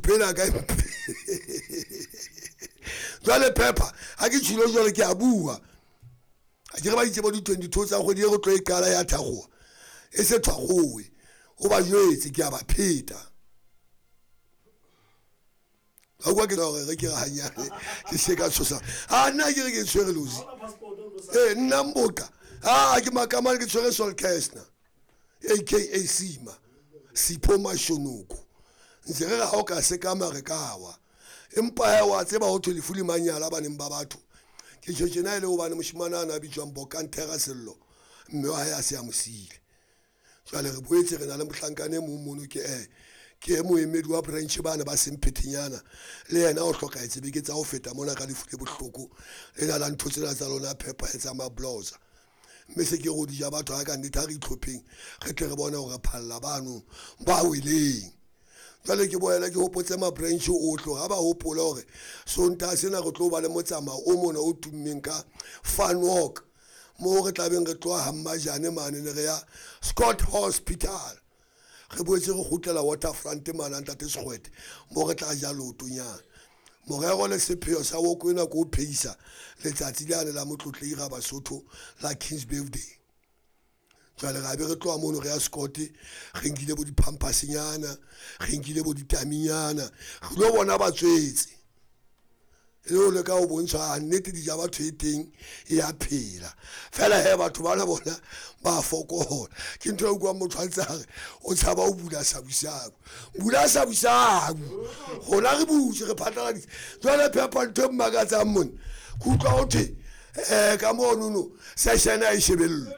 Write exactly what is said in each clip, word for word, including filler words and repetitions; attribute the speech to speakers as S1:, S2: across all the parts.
S1: Thupela ka jwale pepper ha ke tshilo jwale ke a bua a ke re ba itse bo di twenty-two tsa kgwedi e re tlo e qala ya Thagoa e se thwagoe o ba jwetse ke a ba pheta ha kwa ke re re ke re hanyane ke se ka tshosa ha nna ke re ke tshwere lozi eh nna mboka ha ke makamane ke tshwere Sol Kestner aka Sima Sipho Mashonoko ntse re ha o ka se ka mare ka wa empa ha wa tseba ho thwe lefu le manyala baneng ba batho ke tjho tjena ile hobane moshimana ana bitswang Bokantera Sello mme wa hae a se a mosile jwale re boetse re na le mohlankane mong mono ke eh ke moemedi wa branch bana ba semphethenyana le yena o hlokahetse beke tsa ho feta mona ka lefu le bohloko le na la ntho tsena tsa lona phepa e tsa mabloza mme se ke go di ja batho ha ka nnete ha re itlhopheng re tle re bone hore phalla bano ba weleng jwale ke boela ke hopotse ma branch ohle ha ba hopola hore Sontaha sena re tlo ba le motsamao o mona o tummeng ka fun walk mo re tlabeng re tloha Hammajane mane ne re ya Scott Hospital re boetse re kgutlela Waterfront mane ntate Sekgwete mo re tla ja lootonyana morero le sepheo sa woko ena ko pheisa letsatsi lane la motlotlei ga Basotho la King's Birthday jwale ra be re tloha mono re ya Scott re nkile bo dipampasinyana re nkile bo ditaminyana re lo bona batswetse e le le ka o bontsha nnete di ja batho e teng e a phela fela he batho bana bona ba fokola ke ntho e utlwang motho a ntse a re o tshaba o bula sabusabu bula sabusabu rona re butse re phatlaladitse jwale phepa ntho e mmakatsang mona ke utlwa ho thwe um ka monono session a e shebellwe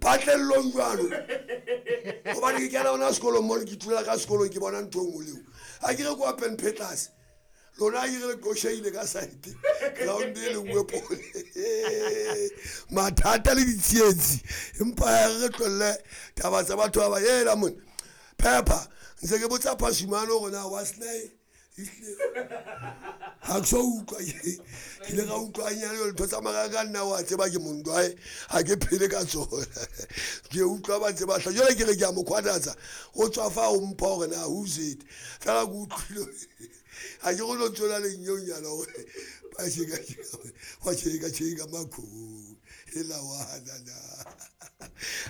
S1: patlellong jwalo hobane ke kena hona sekolong mone ke ithulela ka sekolong ke bona ntho e nngwe leo ha ke re kwa pen phetlase lona ke re qosheile ka side ground e le nngwe pole mathata le ditsietsi empa re tlohelle taba tsa batho ba ba ela mona pepper ntse ke botsa Phashimane hore na wa snai ha ke so utlwa ke ile ka utlwa nyane ntho tsa mara ka nna wa tseba ke mondwae ha ke phele ka tsona ke utlwa ba ntse ba hla jwale ke re ke a mo khwatatsa o tswa fa o mpha hore na who's it fela ke utlwile ha ke go no tswela lenyonyana hore ba sheka wa sheka sheka makhu ela wana na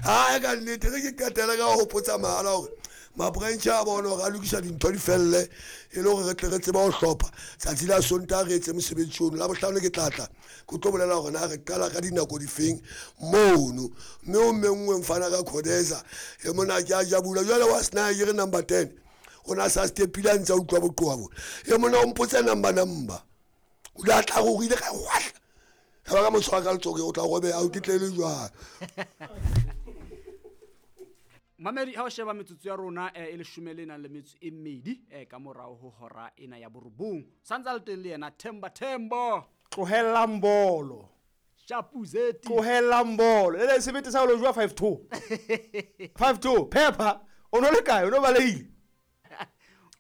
S1: ha ka nnete re ke qetela ka ho hopotsa mahala hore ma-branch a bona hore a lokisa dintho di felle e le hore re tle re tseba ho hlopha tsatsi la Sontaha re etse mosebetsi ono la bohlano ke tlatla ke tlo bolela hore na re qala ka dinako difeng mono mme o menngwe mfana ka Khodeza e mona ke a jabula jwale wa sena ke re number ten o na sa stepile a ntse a utlwa boqoa bona e mona o mpotse number number o la tla go ile ka hwahla ha ba ka mo tshwara ka letsoho o tla robeha o kitlele jwang.
S2: Mamedi ha o sheba metsotso ya rona e leshome le nang le metso e mmedi ka morao ho hora ena ya borobong santse a le teng le yena Themba Themba
S3: tlohellang bolo
S2: Shapuzeti
S3: tlohellang bolo le le sebete sa lo jwa five two five two pepper o no le kae o no baleile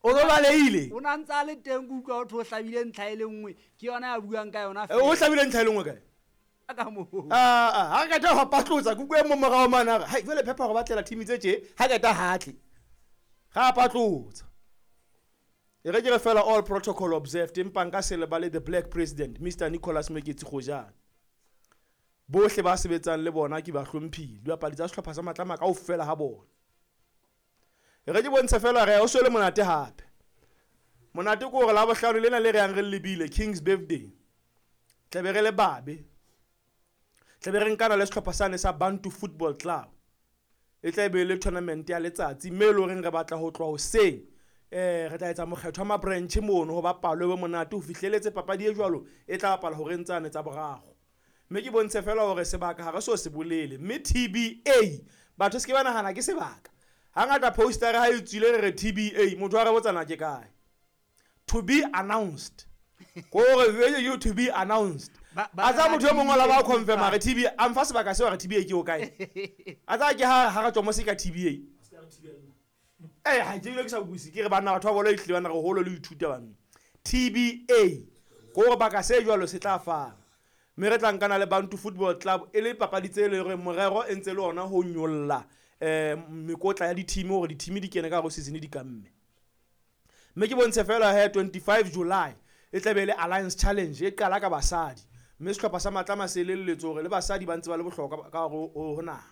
S3: o no baleile
S2: o na ntse a le teng ke utlwa ho thwe o hlabile ntlha e le nngwe ke yona ya buang ka yona
S3: o hlabile ntlha e le nngwe kae
S2: ka mo
S3: ah ah ha ka tla patlotsa kuku e mo morao mana re hai jwale pepper go batlela team tse tje ha ka ta hatle ga patlotsa e re ke re fela all protocol observed empa nka se lebale the black president Mister Nicholas Meketsi Gojane bohle ba sebetsang le bona ke ba hlomphile dibapadi tsa sehlopha sa Matlama kaofela ha bona e re ke bontshe fela re o swele monate hape monate ke hore la bohlano lena le re yang re lebile King's Birthday tlabe re le babe tlabe re nkana le sehlopha sane sa Bantu Football Club e tla be le tournament ya letsatsi mme le horeng re batla ho tloha hoseng eh re tla etsa mokgetho wa ma-branch mono ho bapalwe be monate ho fihleletse papadi e jwalo e tla bapala horeng tsane tsa boraro mme ke bontshe fela hore sebaka ha re so se bolele mme T B A batho se ke ba nahana ke sebaka hangata poster ha e tswile re re T B A motho a re botsana ke kae to be announced gore vele you to be announced a tsa motho e mongwe la ba confirm re T B A mfa sebaka seo re T B A ke o kae a tsa ke ha ha re tswa mo se ka T B A eh ha ke ile ke sa buise ke re bana batho ba bolo itle bana re holo le ithuta bana T B A gore baka se jwalo se tla fana mme re tla nkana le Bantu Football Club e le papadi tse le re morero e ntse le ona ho nyolla eh mekotla ya di-team hore di-team di kene ka hare season di kamme Mme ke bontshe fela he twenty-five July e tlabe e le Alliance Challenge e qala ka basadi. Mme sehlopha sa Matlama se elelletswe hore le basadi ba ntse ba le bohlokwa ka hare ho ho naha.